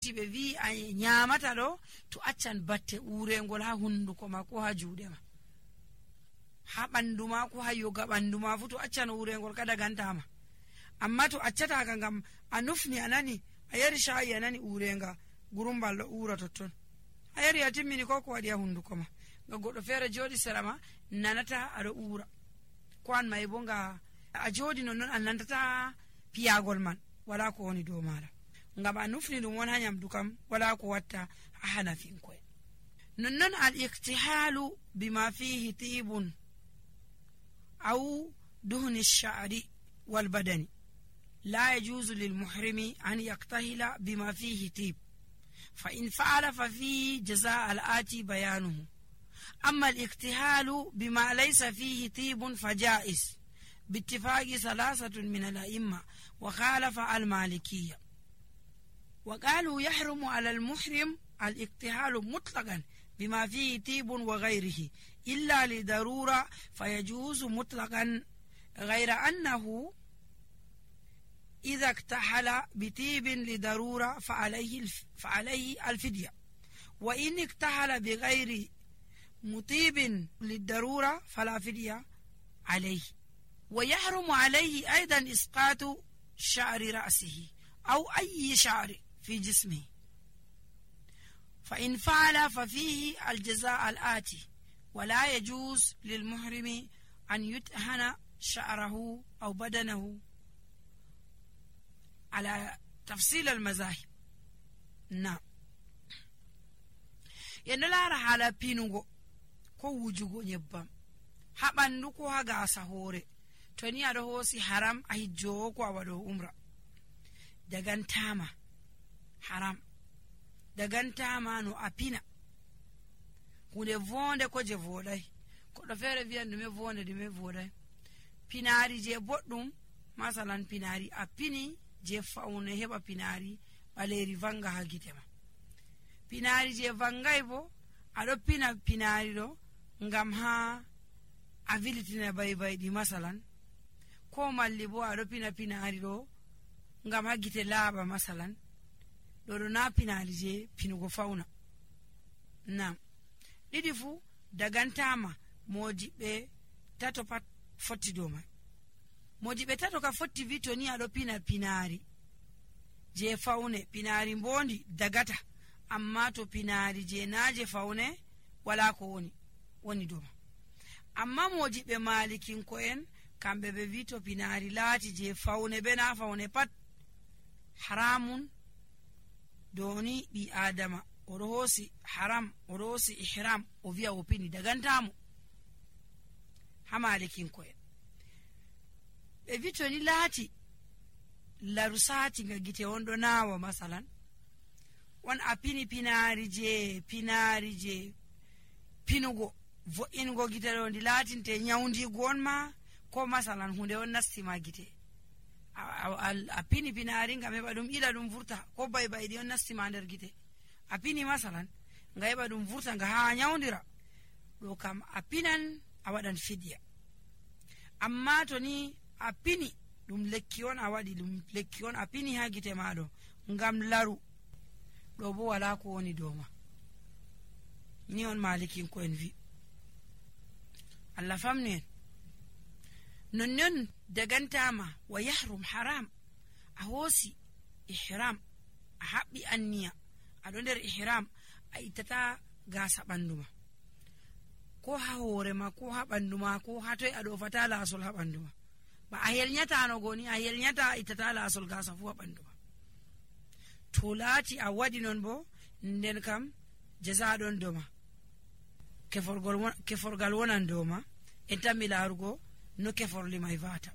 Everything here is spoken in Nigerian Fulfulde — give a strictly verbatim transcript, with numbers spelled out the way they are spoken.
lati be wi a nyamata do to accan batte urengol ha hunduko ma ko ha juude ma ha bandu ma ko ha yoga bandu ma fu to accan urengol kada gantama amma to accata ka ngam anufni anani a yari shayi anani urenga gurumballo ura totton a yari atimmini ko ko wadi ha hunduko ma ga goddo fere jodi serama nanata ado ura ko an may bo nga a jodi non non annantata piyagol man wala ko woni do mala ngam a nufni dum won ha nyamdu kam wala ko watta ha hanafin ko non non al iktihalu bima fihi tibun aw duhni ash-sha'ri wal badani لا يجوز للمحرم أن يقتهل بما فيه طيب فإن فعل ففيه جزاء الآتي بيانه أما الاقتهال بما ليس فيه طيب فجائز باتفاق ثلاثة من الأئمة وخالف المالكية وقالوا يحرم على المحرم الاقتهال مطلقا بما فيه طيب وغيره إلا لضرورة فيجوز مطلقا غير أنه إذا اكتحل بطيب لضرورة فعليه, الف... فعليه الفدية وإن اكتحل بغير مطيب للضرورة فلا فدية عليه ويحرم عليه أيضا إسقاط شعر رأسه أو أي شعر في جسمه فإن فعل ففيه الجزاء الآتي ولا يجوز للمحرم أن يتهن شعره أو بدنه على تفصيل المذاهب. نعم ينلا على بينوغو ko wujugo nyebbam ha bandu ko ha gasa hore to ni ado hosi haram a hijjo ko awado umra dagantama haram dagantama no apina hunde vonde ko je vodai ko do fere viande me vonde de me vodai pinari je boddum masalan pinari apini je faune heba pinari baleri vanga ha gitema pinari je vangai bo ado pina pinari do ngam ha abilitina bay bay di masalan ko malli bo ado pina pinari do ngam ha gite laaba masalan do do na pinari je pinugo fauna. Nam didi fu dagantama modibe tato pat fotti do mai modibe tato ka fotti vitoni ado pina pinari je faune pinari mbondi dagata amma to pinari je naje faune wala ko woni woni doma amma mojibe malikin ko en kambe be vito pinari lati je faune be na faune pat haramun doni bi adama orosi haram orosi ihram o via opini dagantamo ha malikin ko en be vito ni lati larusati ngagite wondo nawa masalan won apini pinari je pinari je pinugo vo ingo gitero ndi latinte nyaundi gonma ko masalan hunde on nastima gite apini pinari ngam dum ila dum vurta ko bay bay di on nastima nder gite apini masalan ngayba dum vurta nga ha nyaundira do kam apinan awadan fidya amma to ni apini dum lekki on awadi dum lekki on apini ha gite maado ngam laru do bo wala ko woni doma ni on malikin ko en vi Allah famni non non dagantama wa yahrum haram ahosi ihram habbi anniya ado der ihram aitata gasa banduma ko ha hore ma ko ha banduma ko ha toy ado fatala asul ha banduma ba ayel nyata no goni ayel nyata itata la asul gasa fu ha banduma tolati a wadi non bo nden kam jaza don doma keforgol keforgal wonan doma en tammi larugo no keforli mai vata